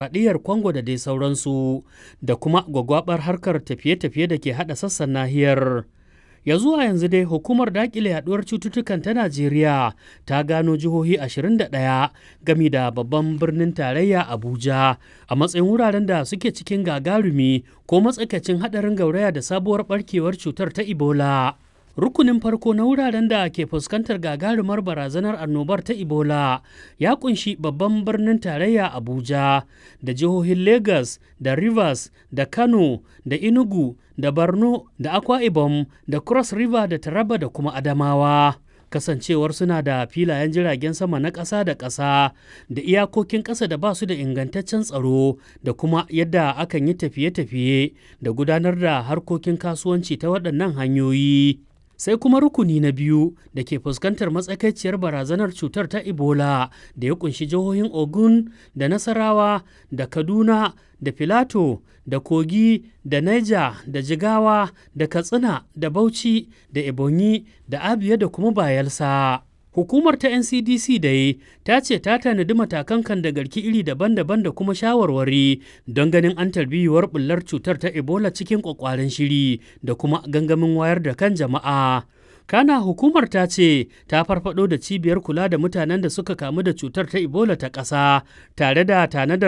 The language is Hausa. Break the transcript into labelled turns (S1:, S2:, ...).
S1: Dimokuraɗiyyar Kwango da dai sauransu, da kuma gwaggwaɓar harkar tafiye-tafiye da ke haɗa sassan nahiyar. Ya zuwa yanzu dai Hukumar Daƙile Yaɗuwar Cututtukan ta Najeriya ta gano jihohi 21 gami da babban birnin tarayya Abuja a matsayin wuraren da suke cikin gagarumi ko matsakaicin haɗarin gauraya da sabuwar ɓarkewar cutar ta Ebola. Rukunin farko na wuraren da ke fuskantar gagarumar barazanar annobar ta Ebola ya kunshi babban birnin tarayya Abuja da jihohin Lagos da Rivers da Kano da Enugu da Borno da Akwa Ibom da Cross River da Taraba da kuma Adamawa. Kasancewar suna da filayen jiragen sama na ƙasa da ƙasa da iyakokin ƙasa da ba su da ingantaccen tsaro da kuma yadda akan yi tafiye-tafiye da gudanar da harkokin kasuwanci ta waɗannan hanyoyi. Sai kuma rukuni na biyu da ke fuskantar matsakaiciyar barazanar cutar ta Ebola da ya kunshi jihohin Ogun da Nasarawa da Kaduna da Filato da Kogi da Niger da Jigawa da Katsina da Bauchi da Ebonyi da Abia da kuma Bayelsa. Hukumar ta NCDC dai ta ce ta tanadi matakan kandagarki iri daban-daban da kuma shawarwari don ganin an tarbiyuwar bullar cutar ta Ebola cikin kwakwaren shiri da kuma gangamin wayar da kan jama'a. Kana hukumar ta ce ta farfado da cibiyar kula da mutanen da suka kamu da cutar ta Ebola ta ƙasa tare da tanadar